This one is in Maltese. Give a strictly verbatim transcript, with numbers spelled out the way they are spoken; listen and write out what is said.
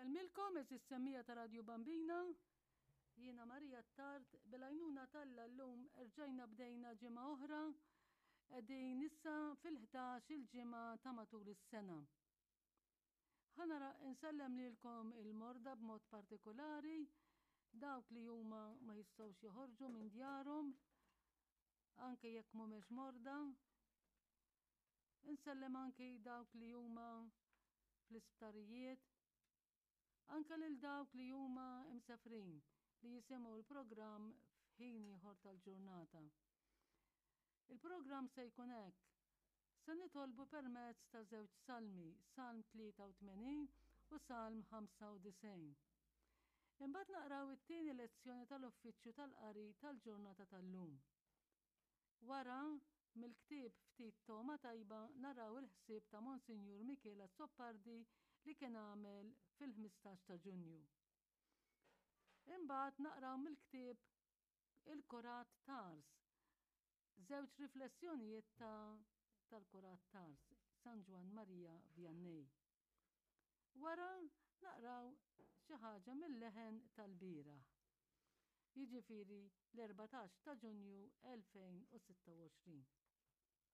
Insellmilkom għeżież semmiegħa ta' Radju Bambina. Jiena Marija Attard bil-għajnuna t'Alla llum erġajna bdejna ġimgħa oħra qegħdin issa fil-ħdax il-ġimgħa ta' matul is-sena. Ħa nara insellem lilkom il-morda b'mod partikolari dawk li huma ma jistgħux joħorġu minn djarhom anke jekk mhumiex morda. Insellem anke dawk li huma fl-isptarijiet anke lil dawk li huma imsefrin li jisimgħu l-programm f'ħin ieħor tal-ġurnata. Il-programm se jkun hekk. Se nitolbu permezz ta' żewġ salmi, Salm tlieta u tmenin u Salm ħamsa u disgħin. Imbagħad naqraw it-tieni lezzjoni tal-Uffiċċju tal-Qari tal-ġurnata tal-lum. Wara, mill-ktieb Ftit Togħma Tajba naraw il-ħsieb ta' Monsinjur Michele Azzopardi li kien għamel fil-ħmistax ta' Ġunju. Imbagħad naqraw mill-ktieb Il-Kurat Tars, żewġ riflessjonijiet ta' tal-Kurat Tars, San Ġwann Maria Vianney. Wara naqraw xi ħaġa mill-leħen tal-bieraħ. Jiġifieri l-erbatax ta' Ġunju elfejn u sitta u għoxrin.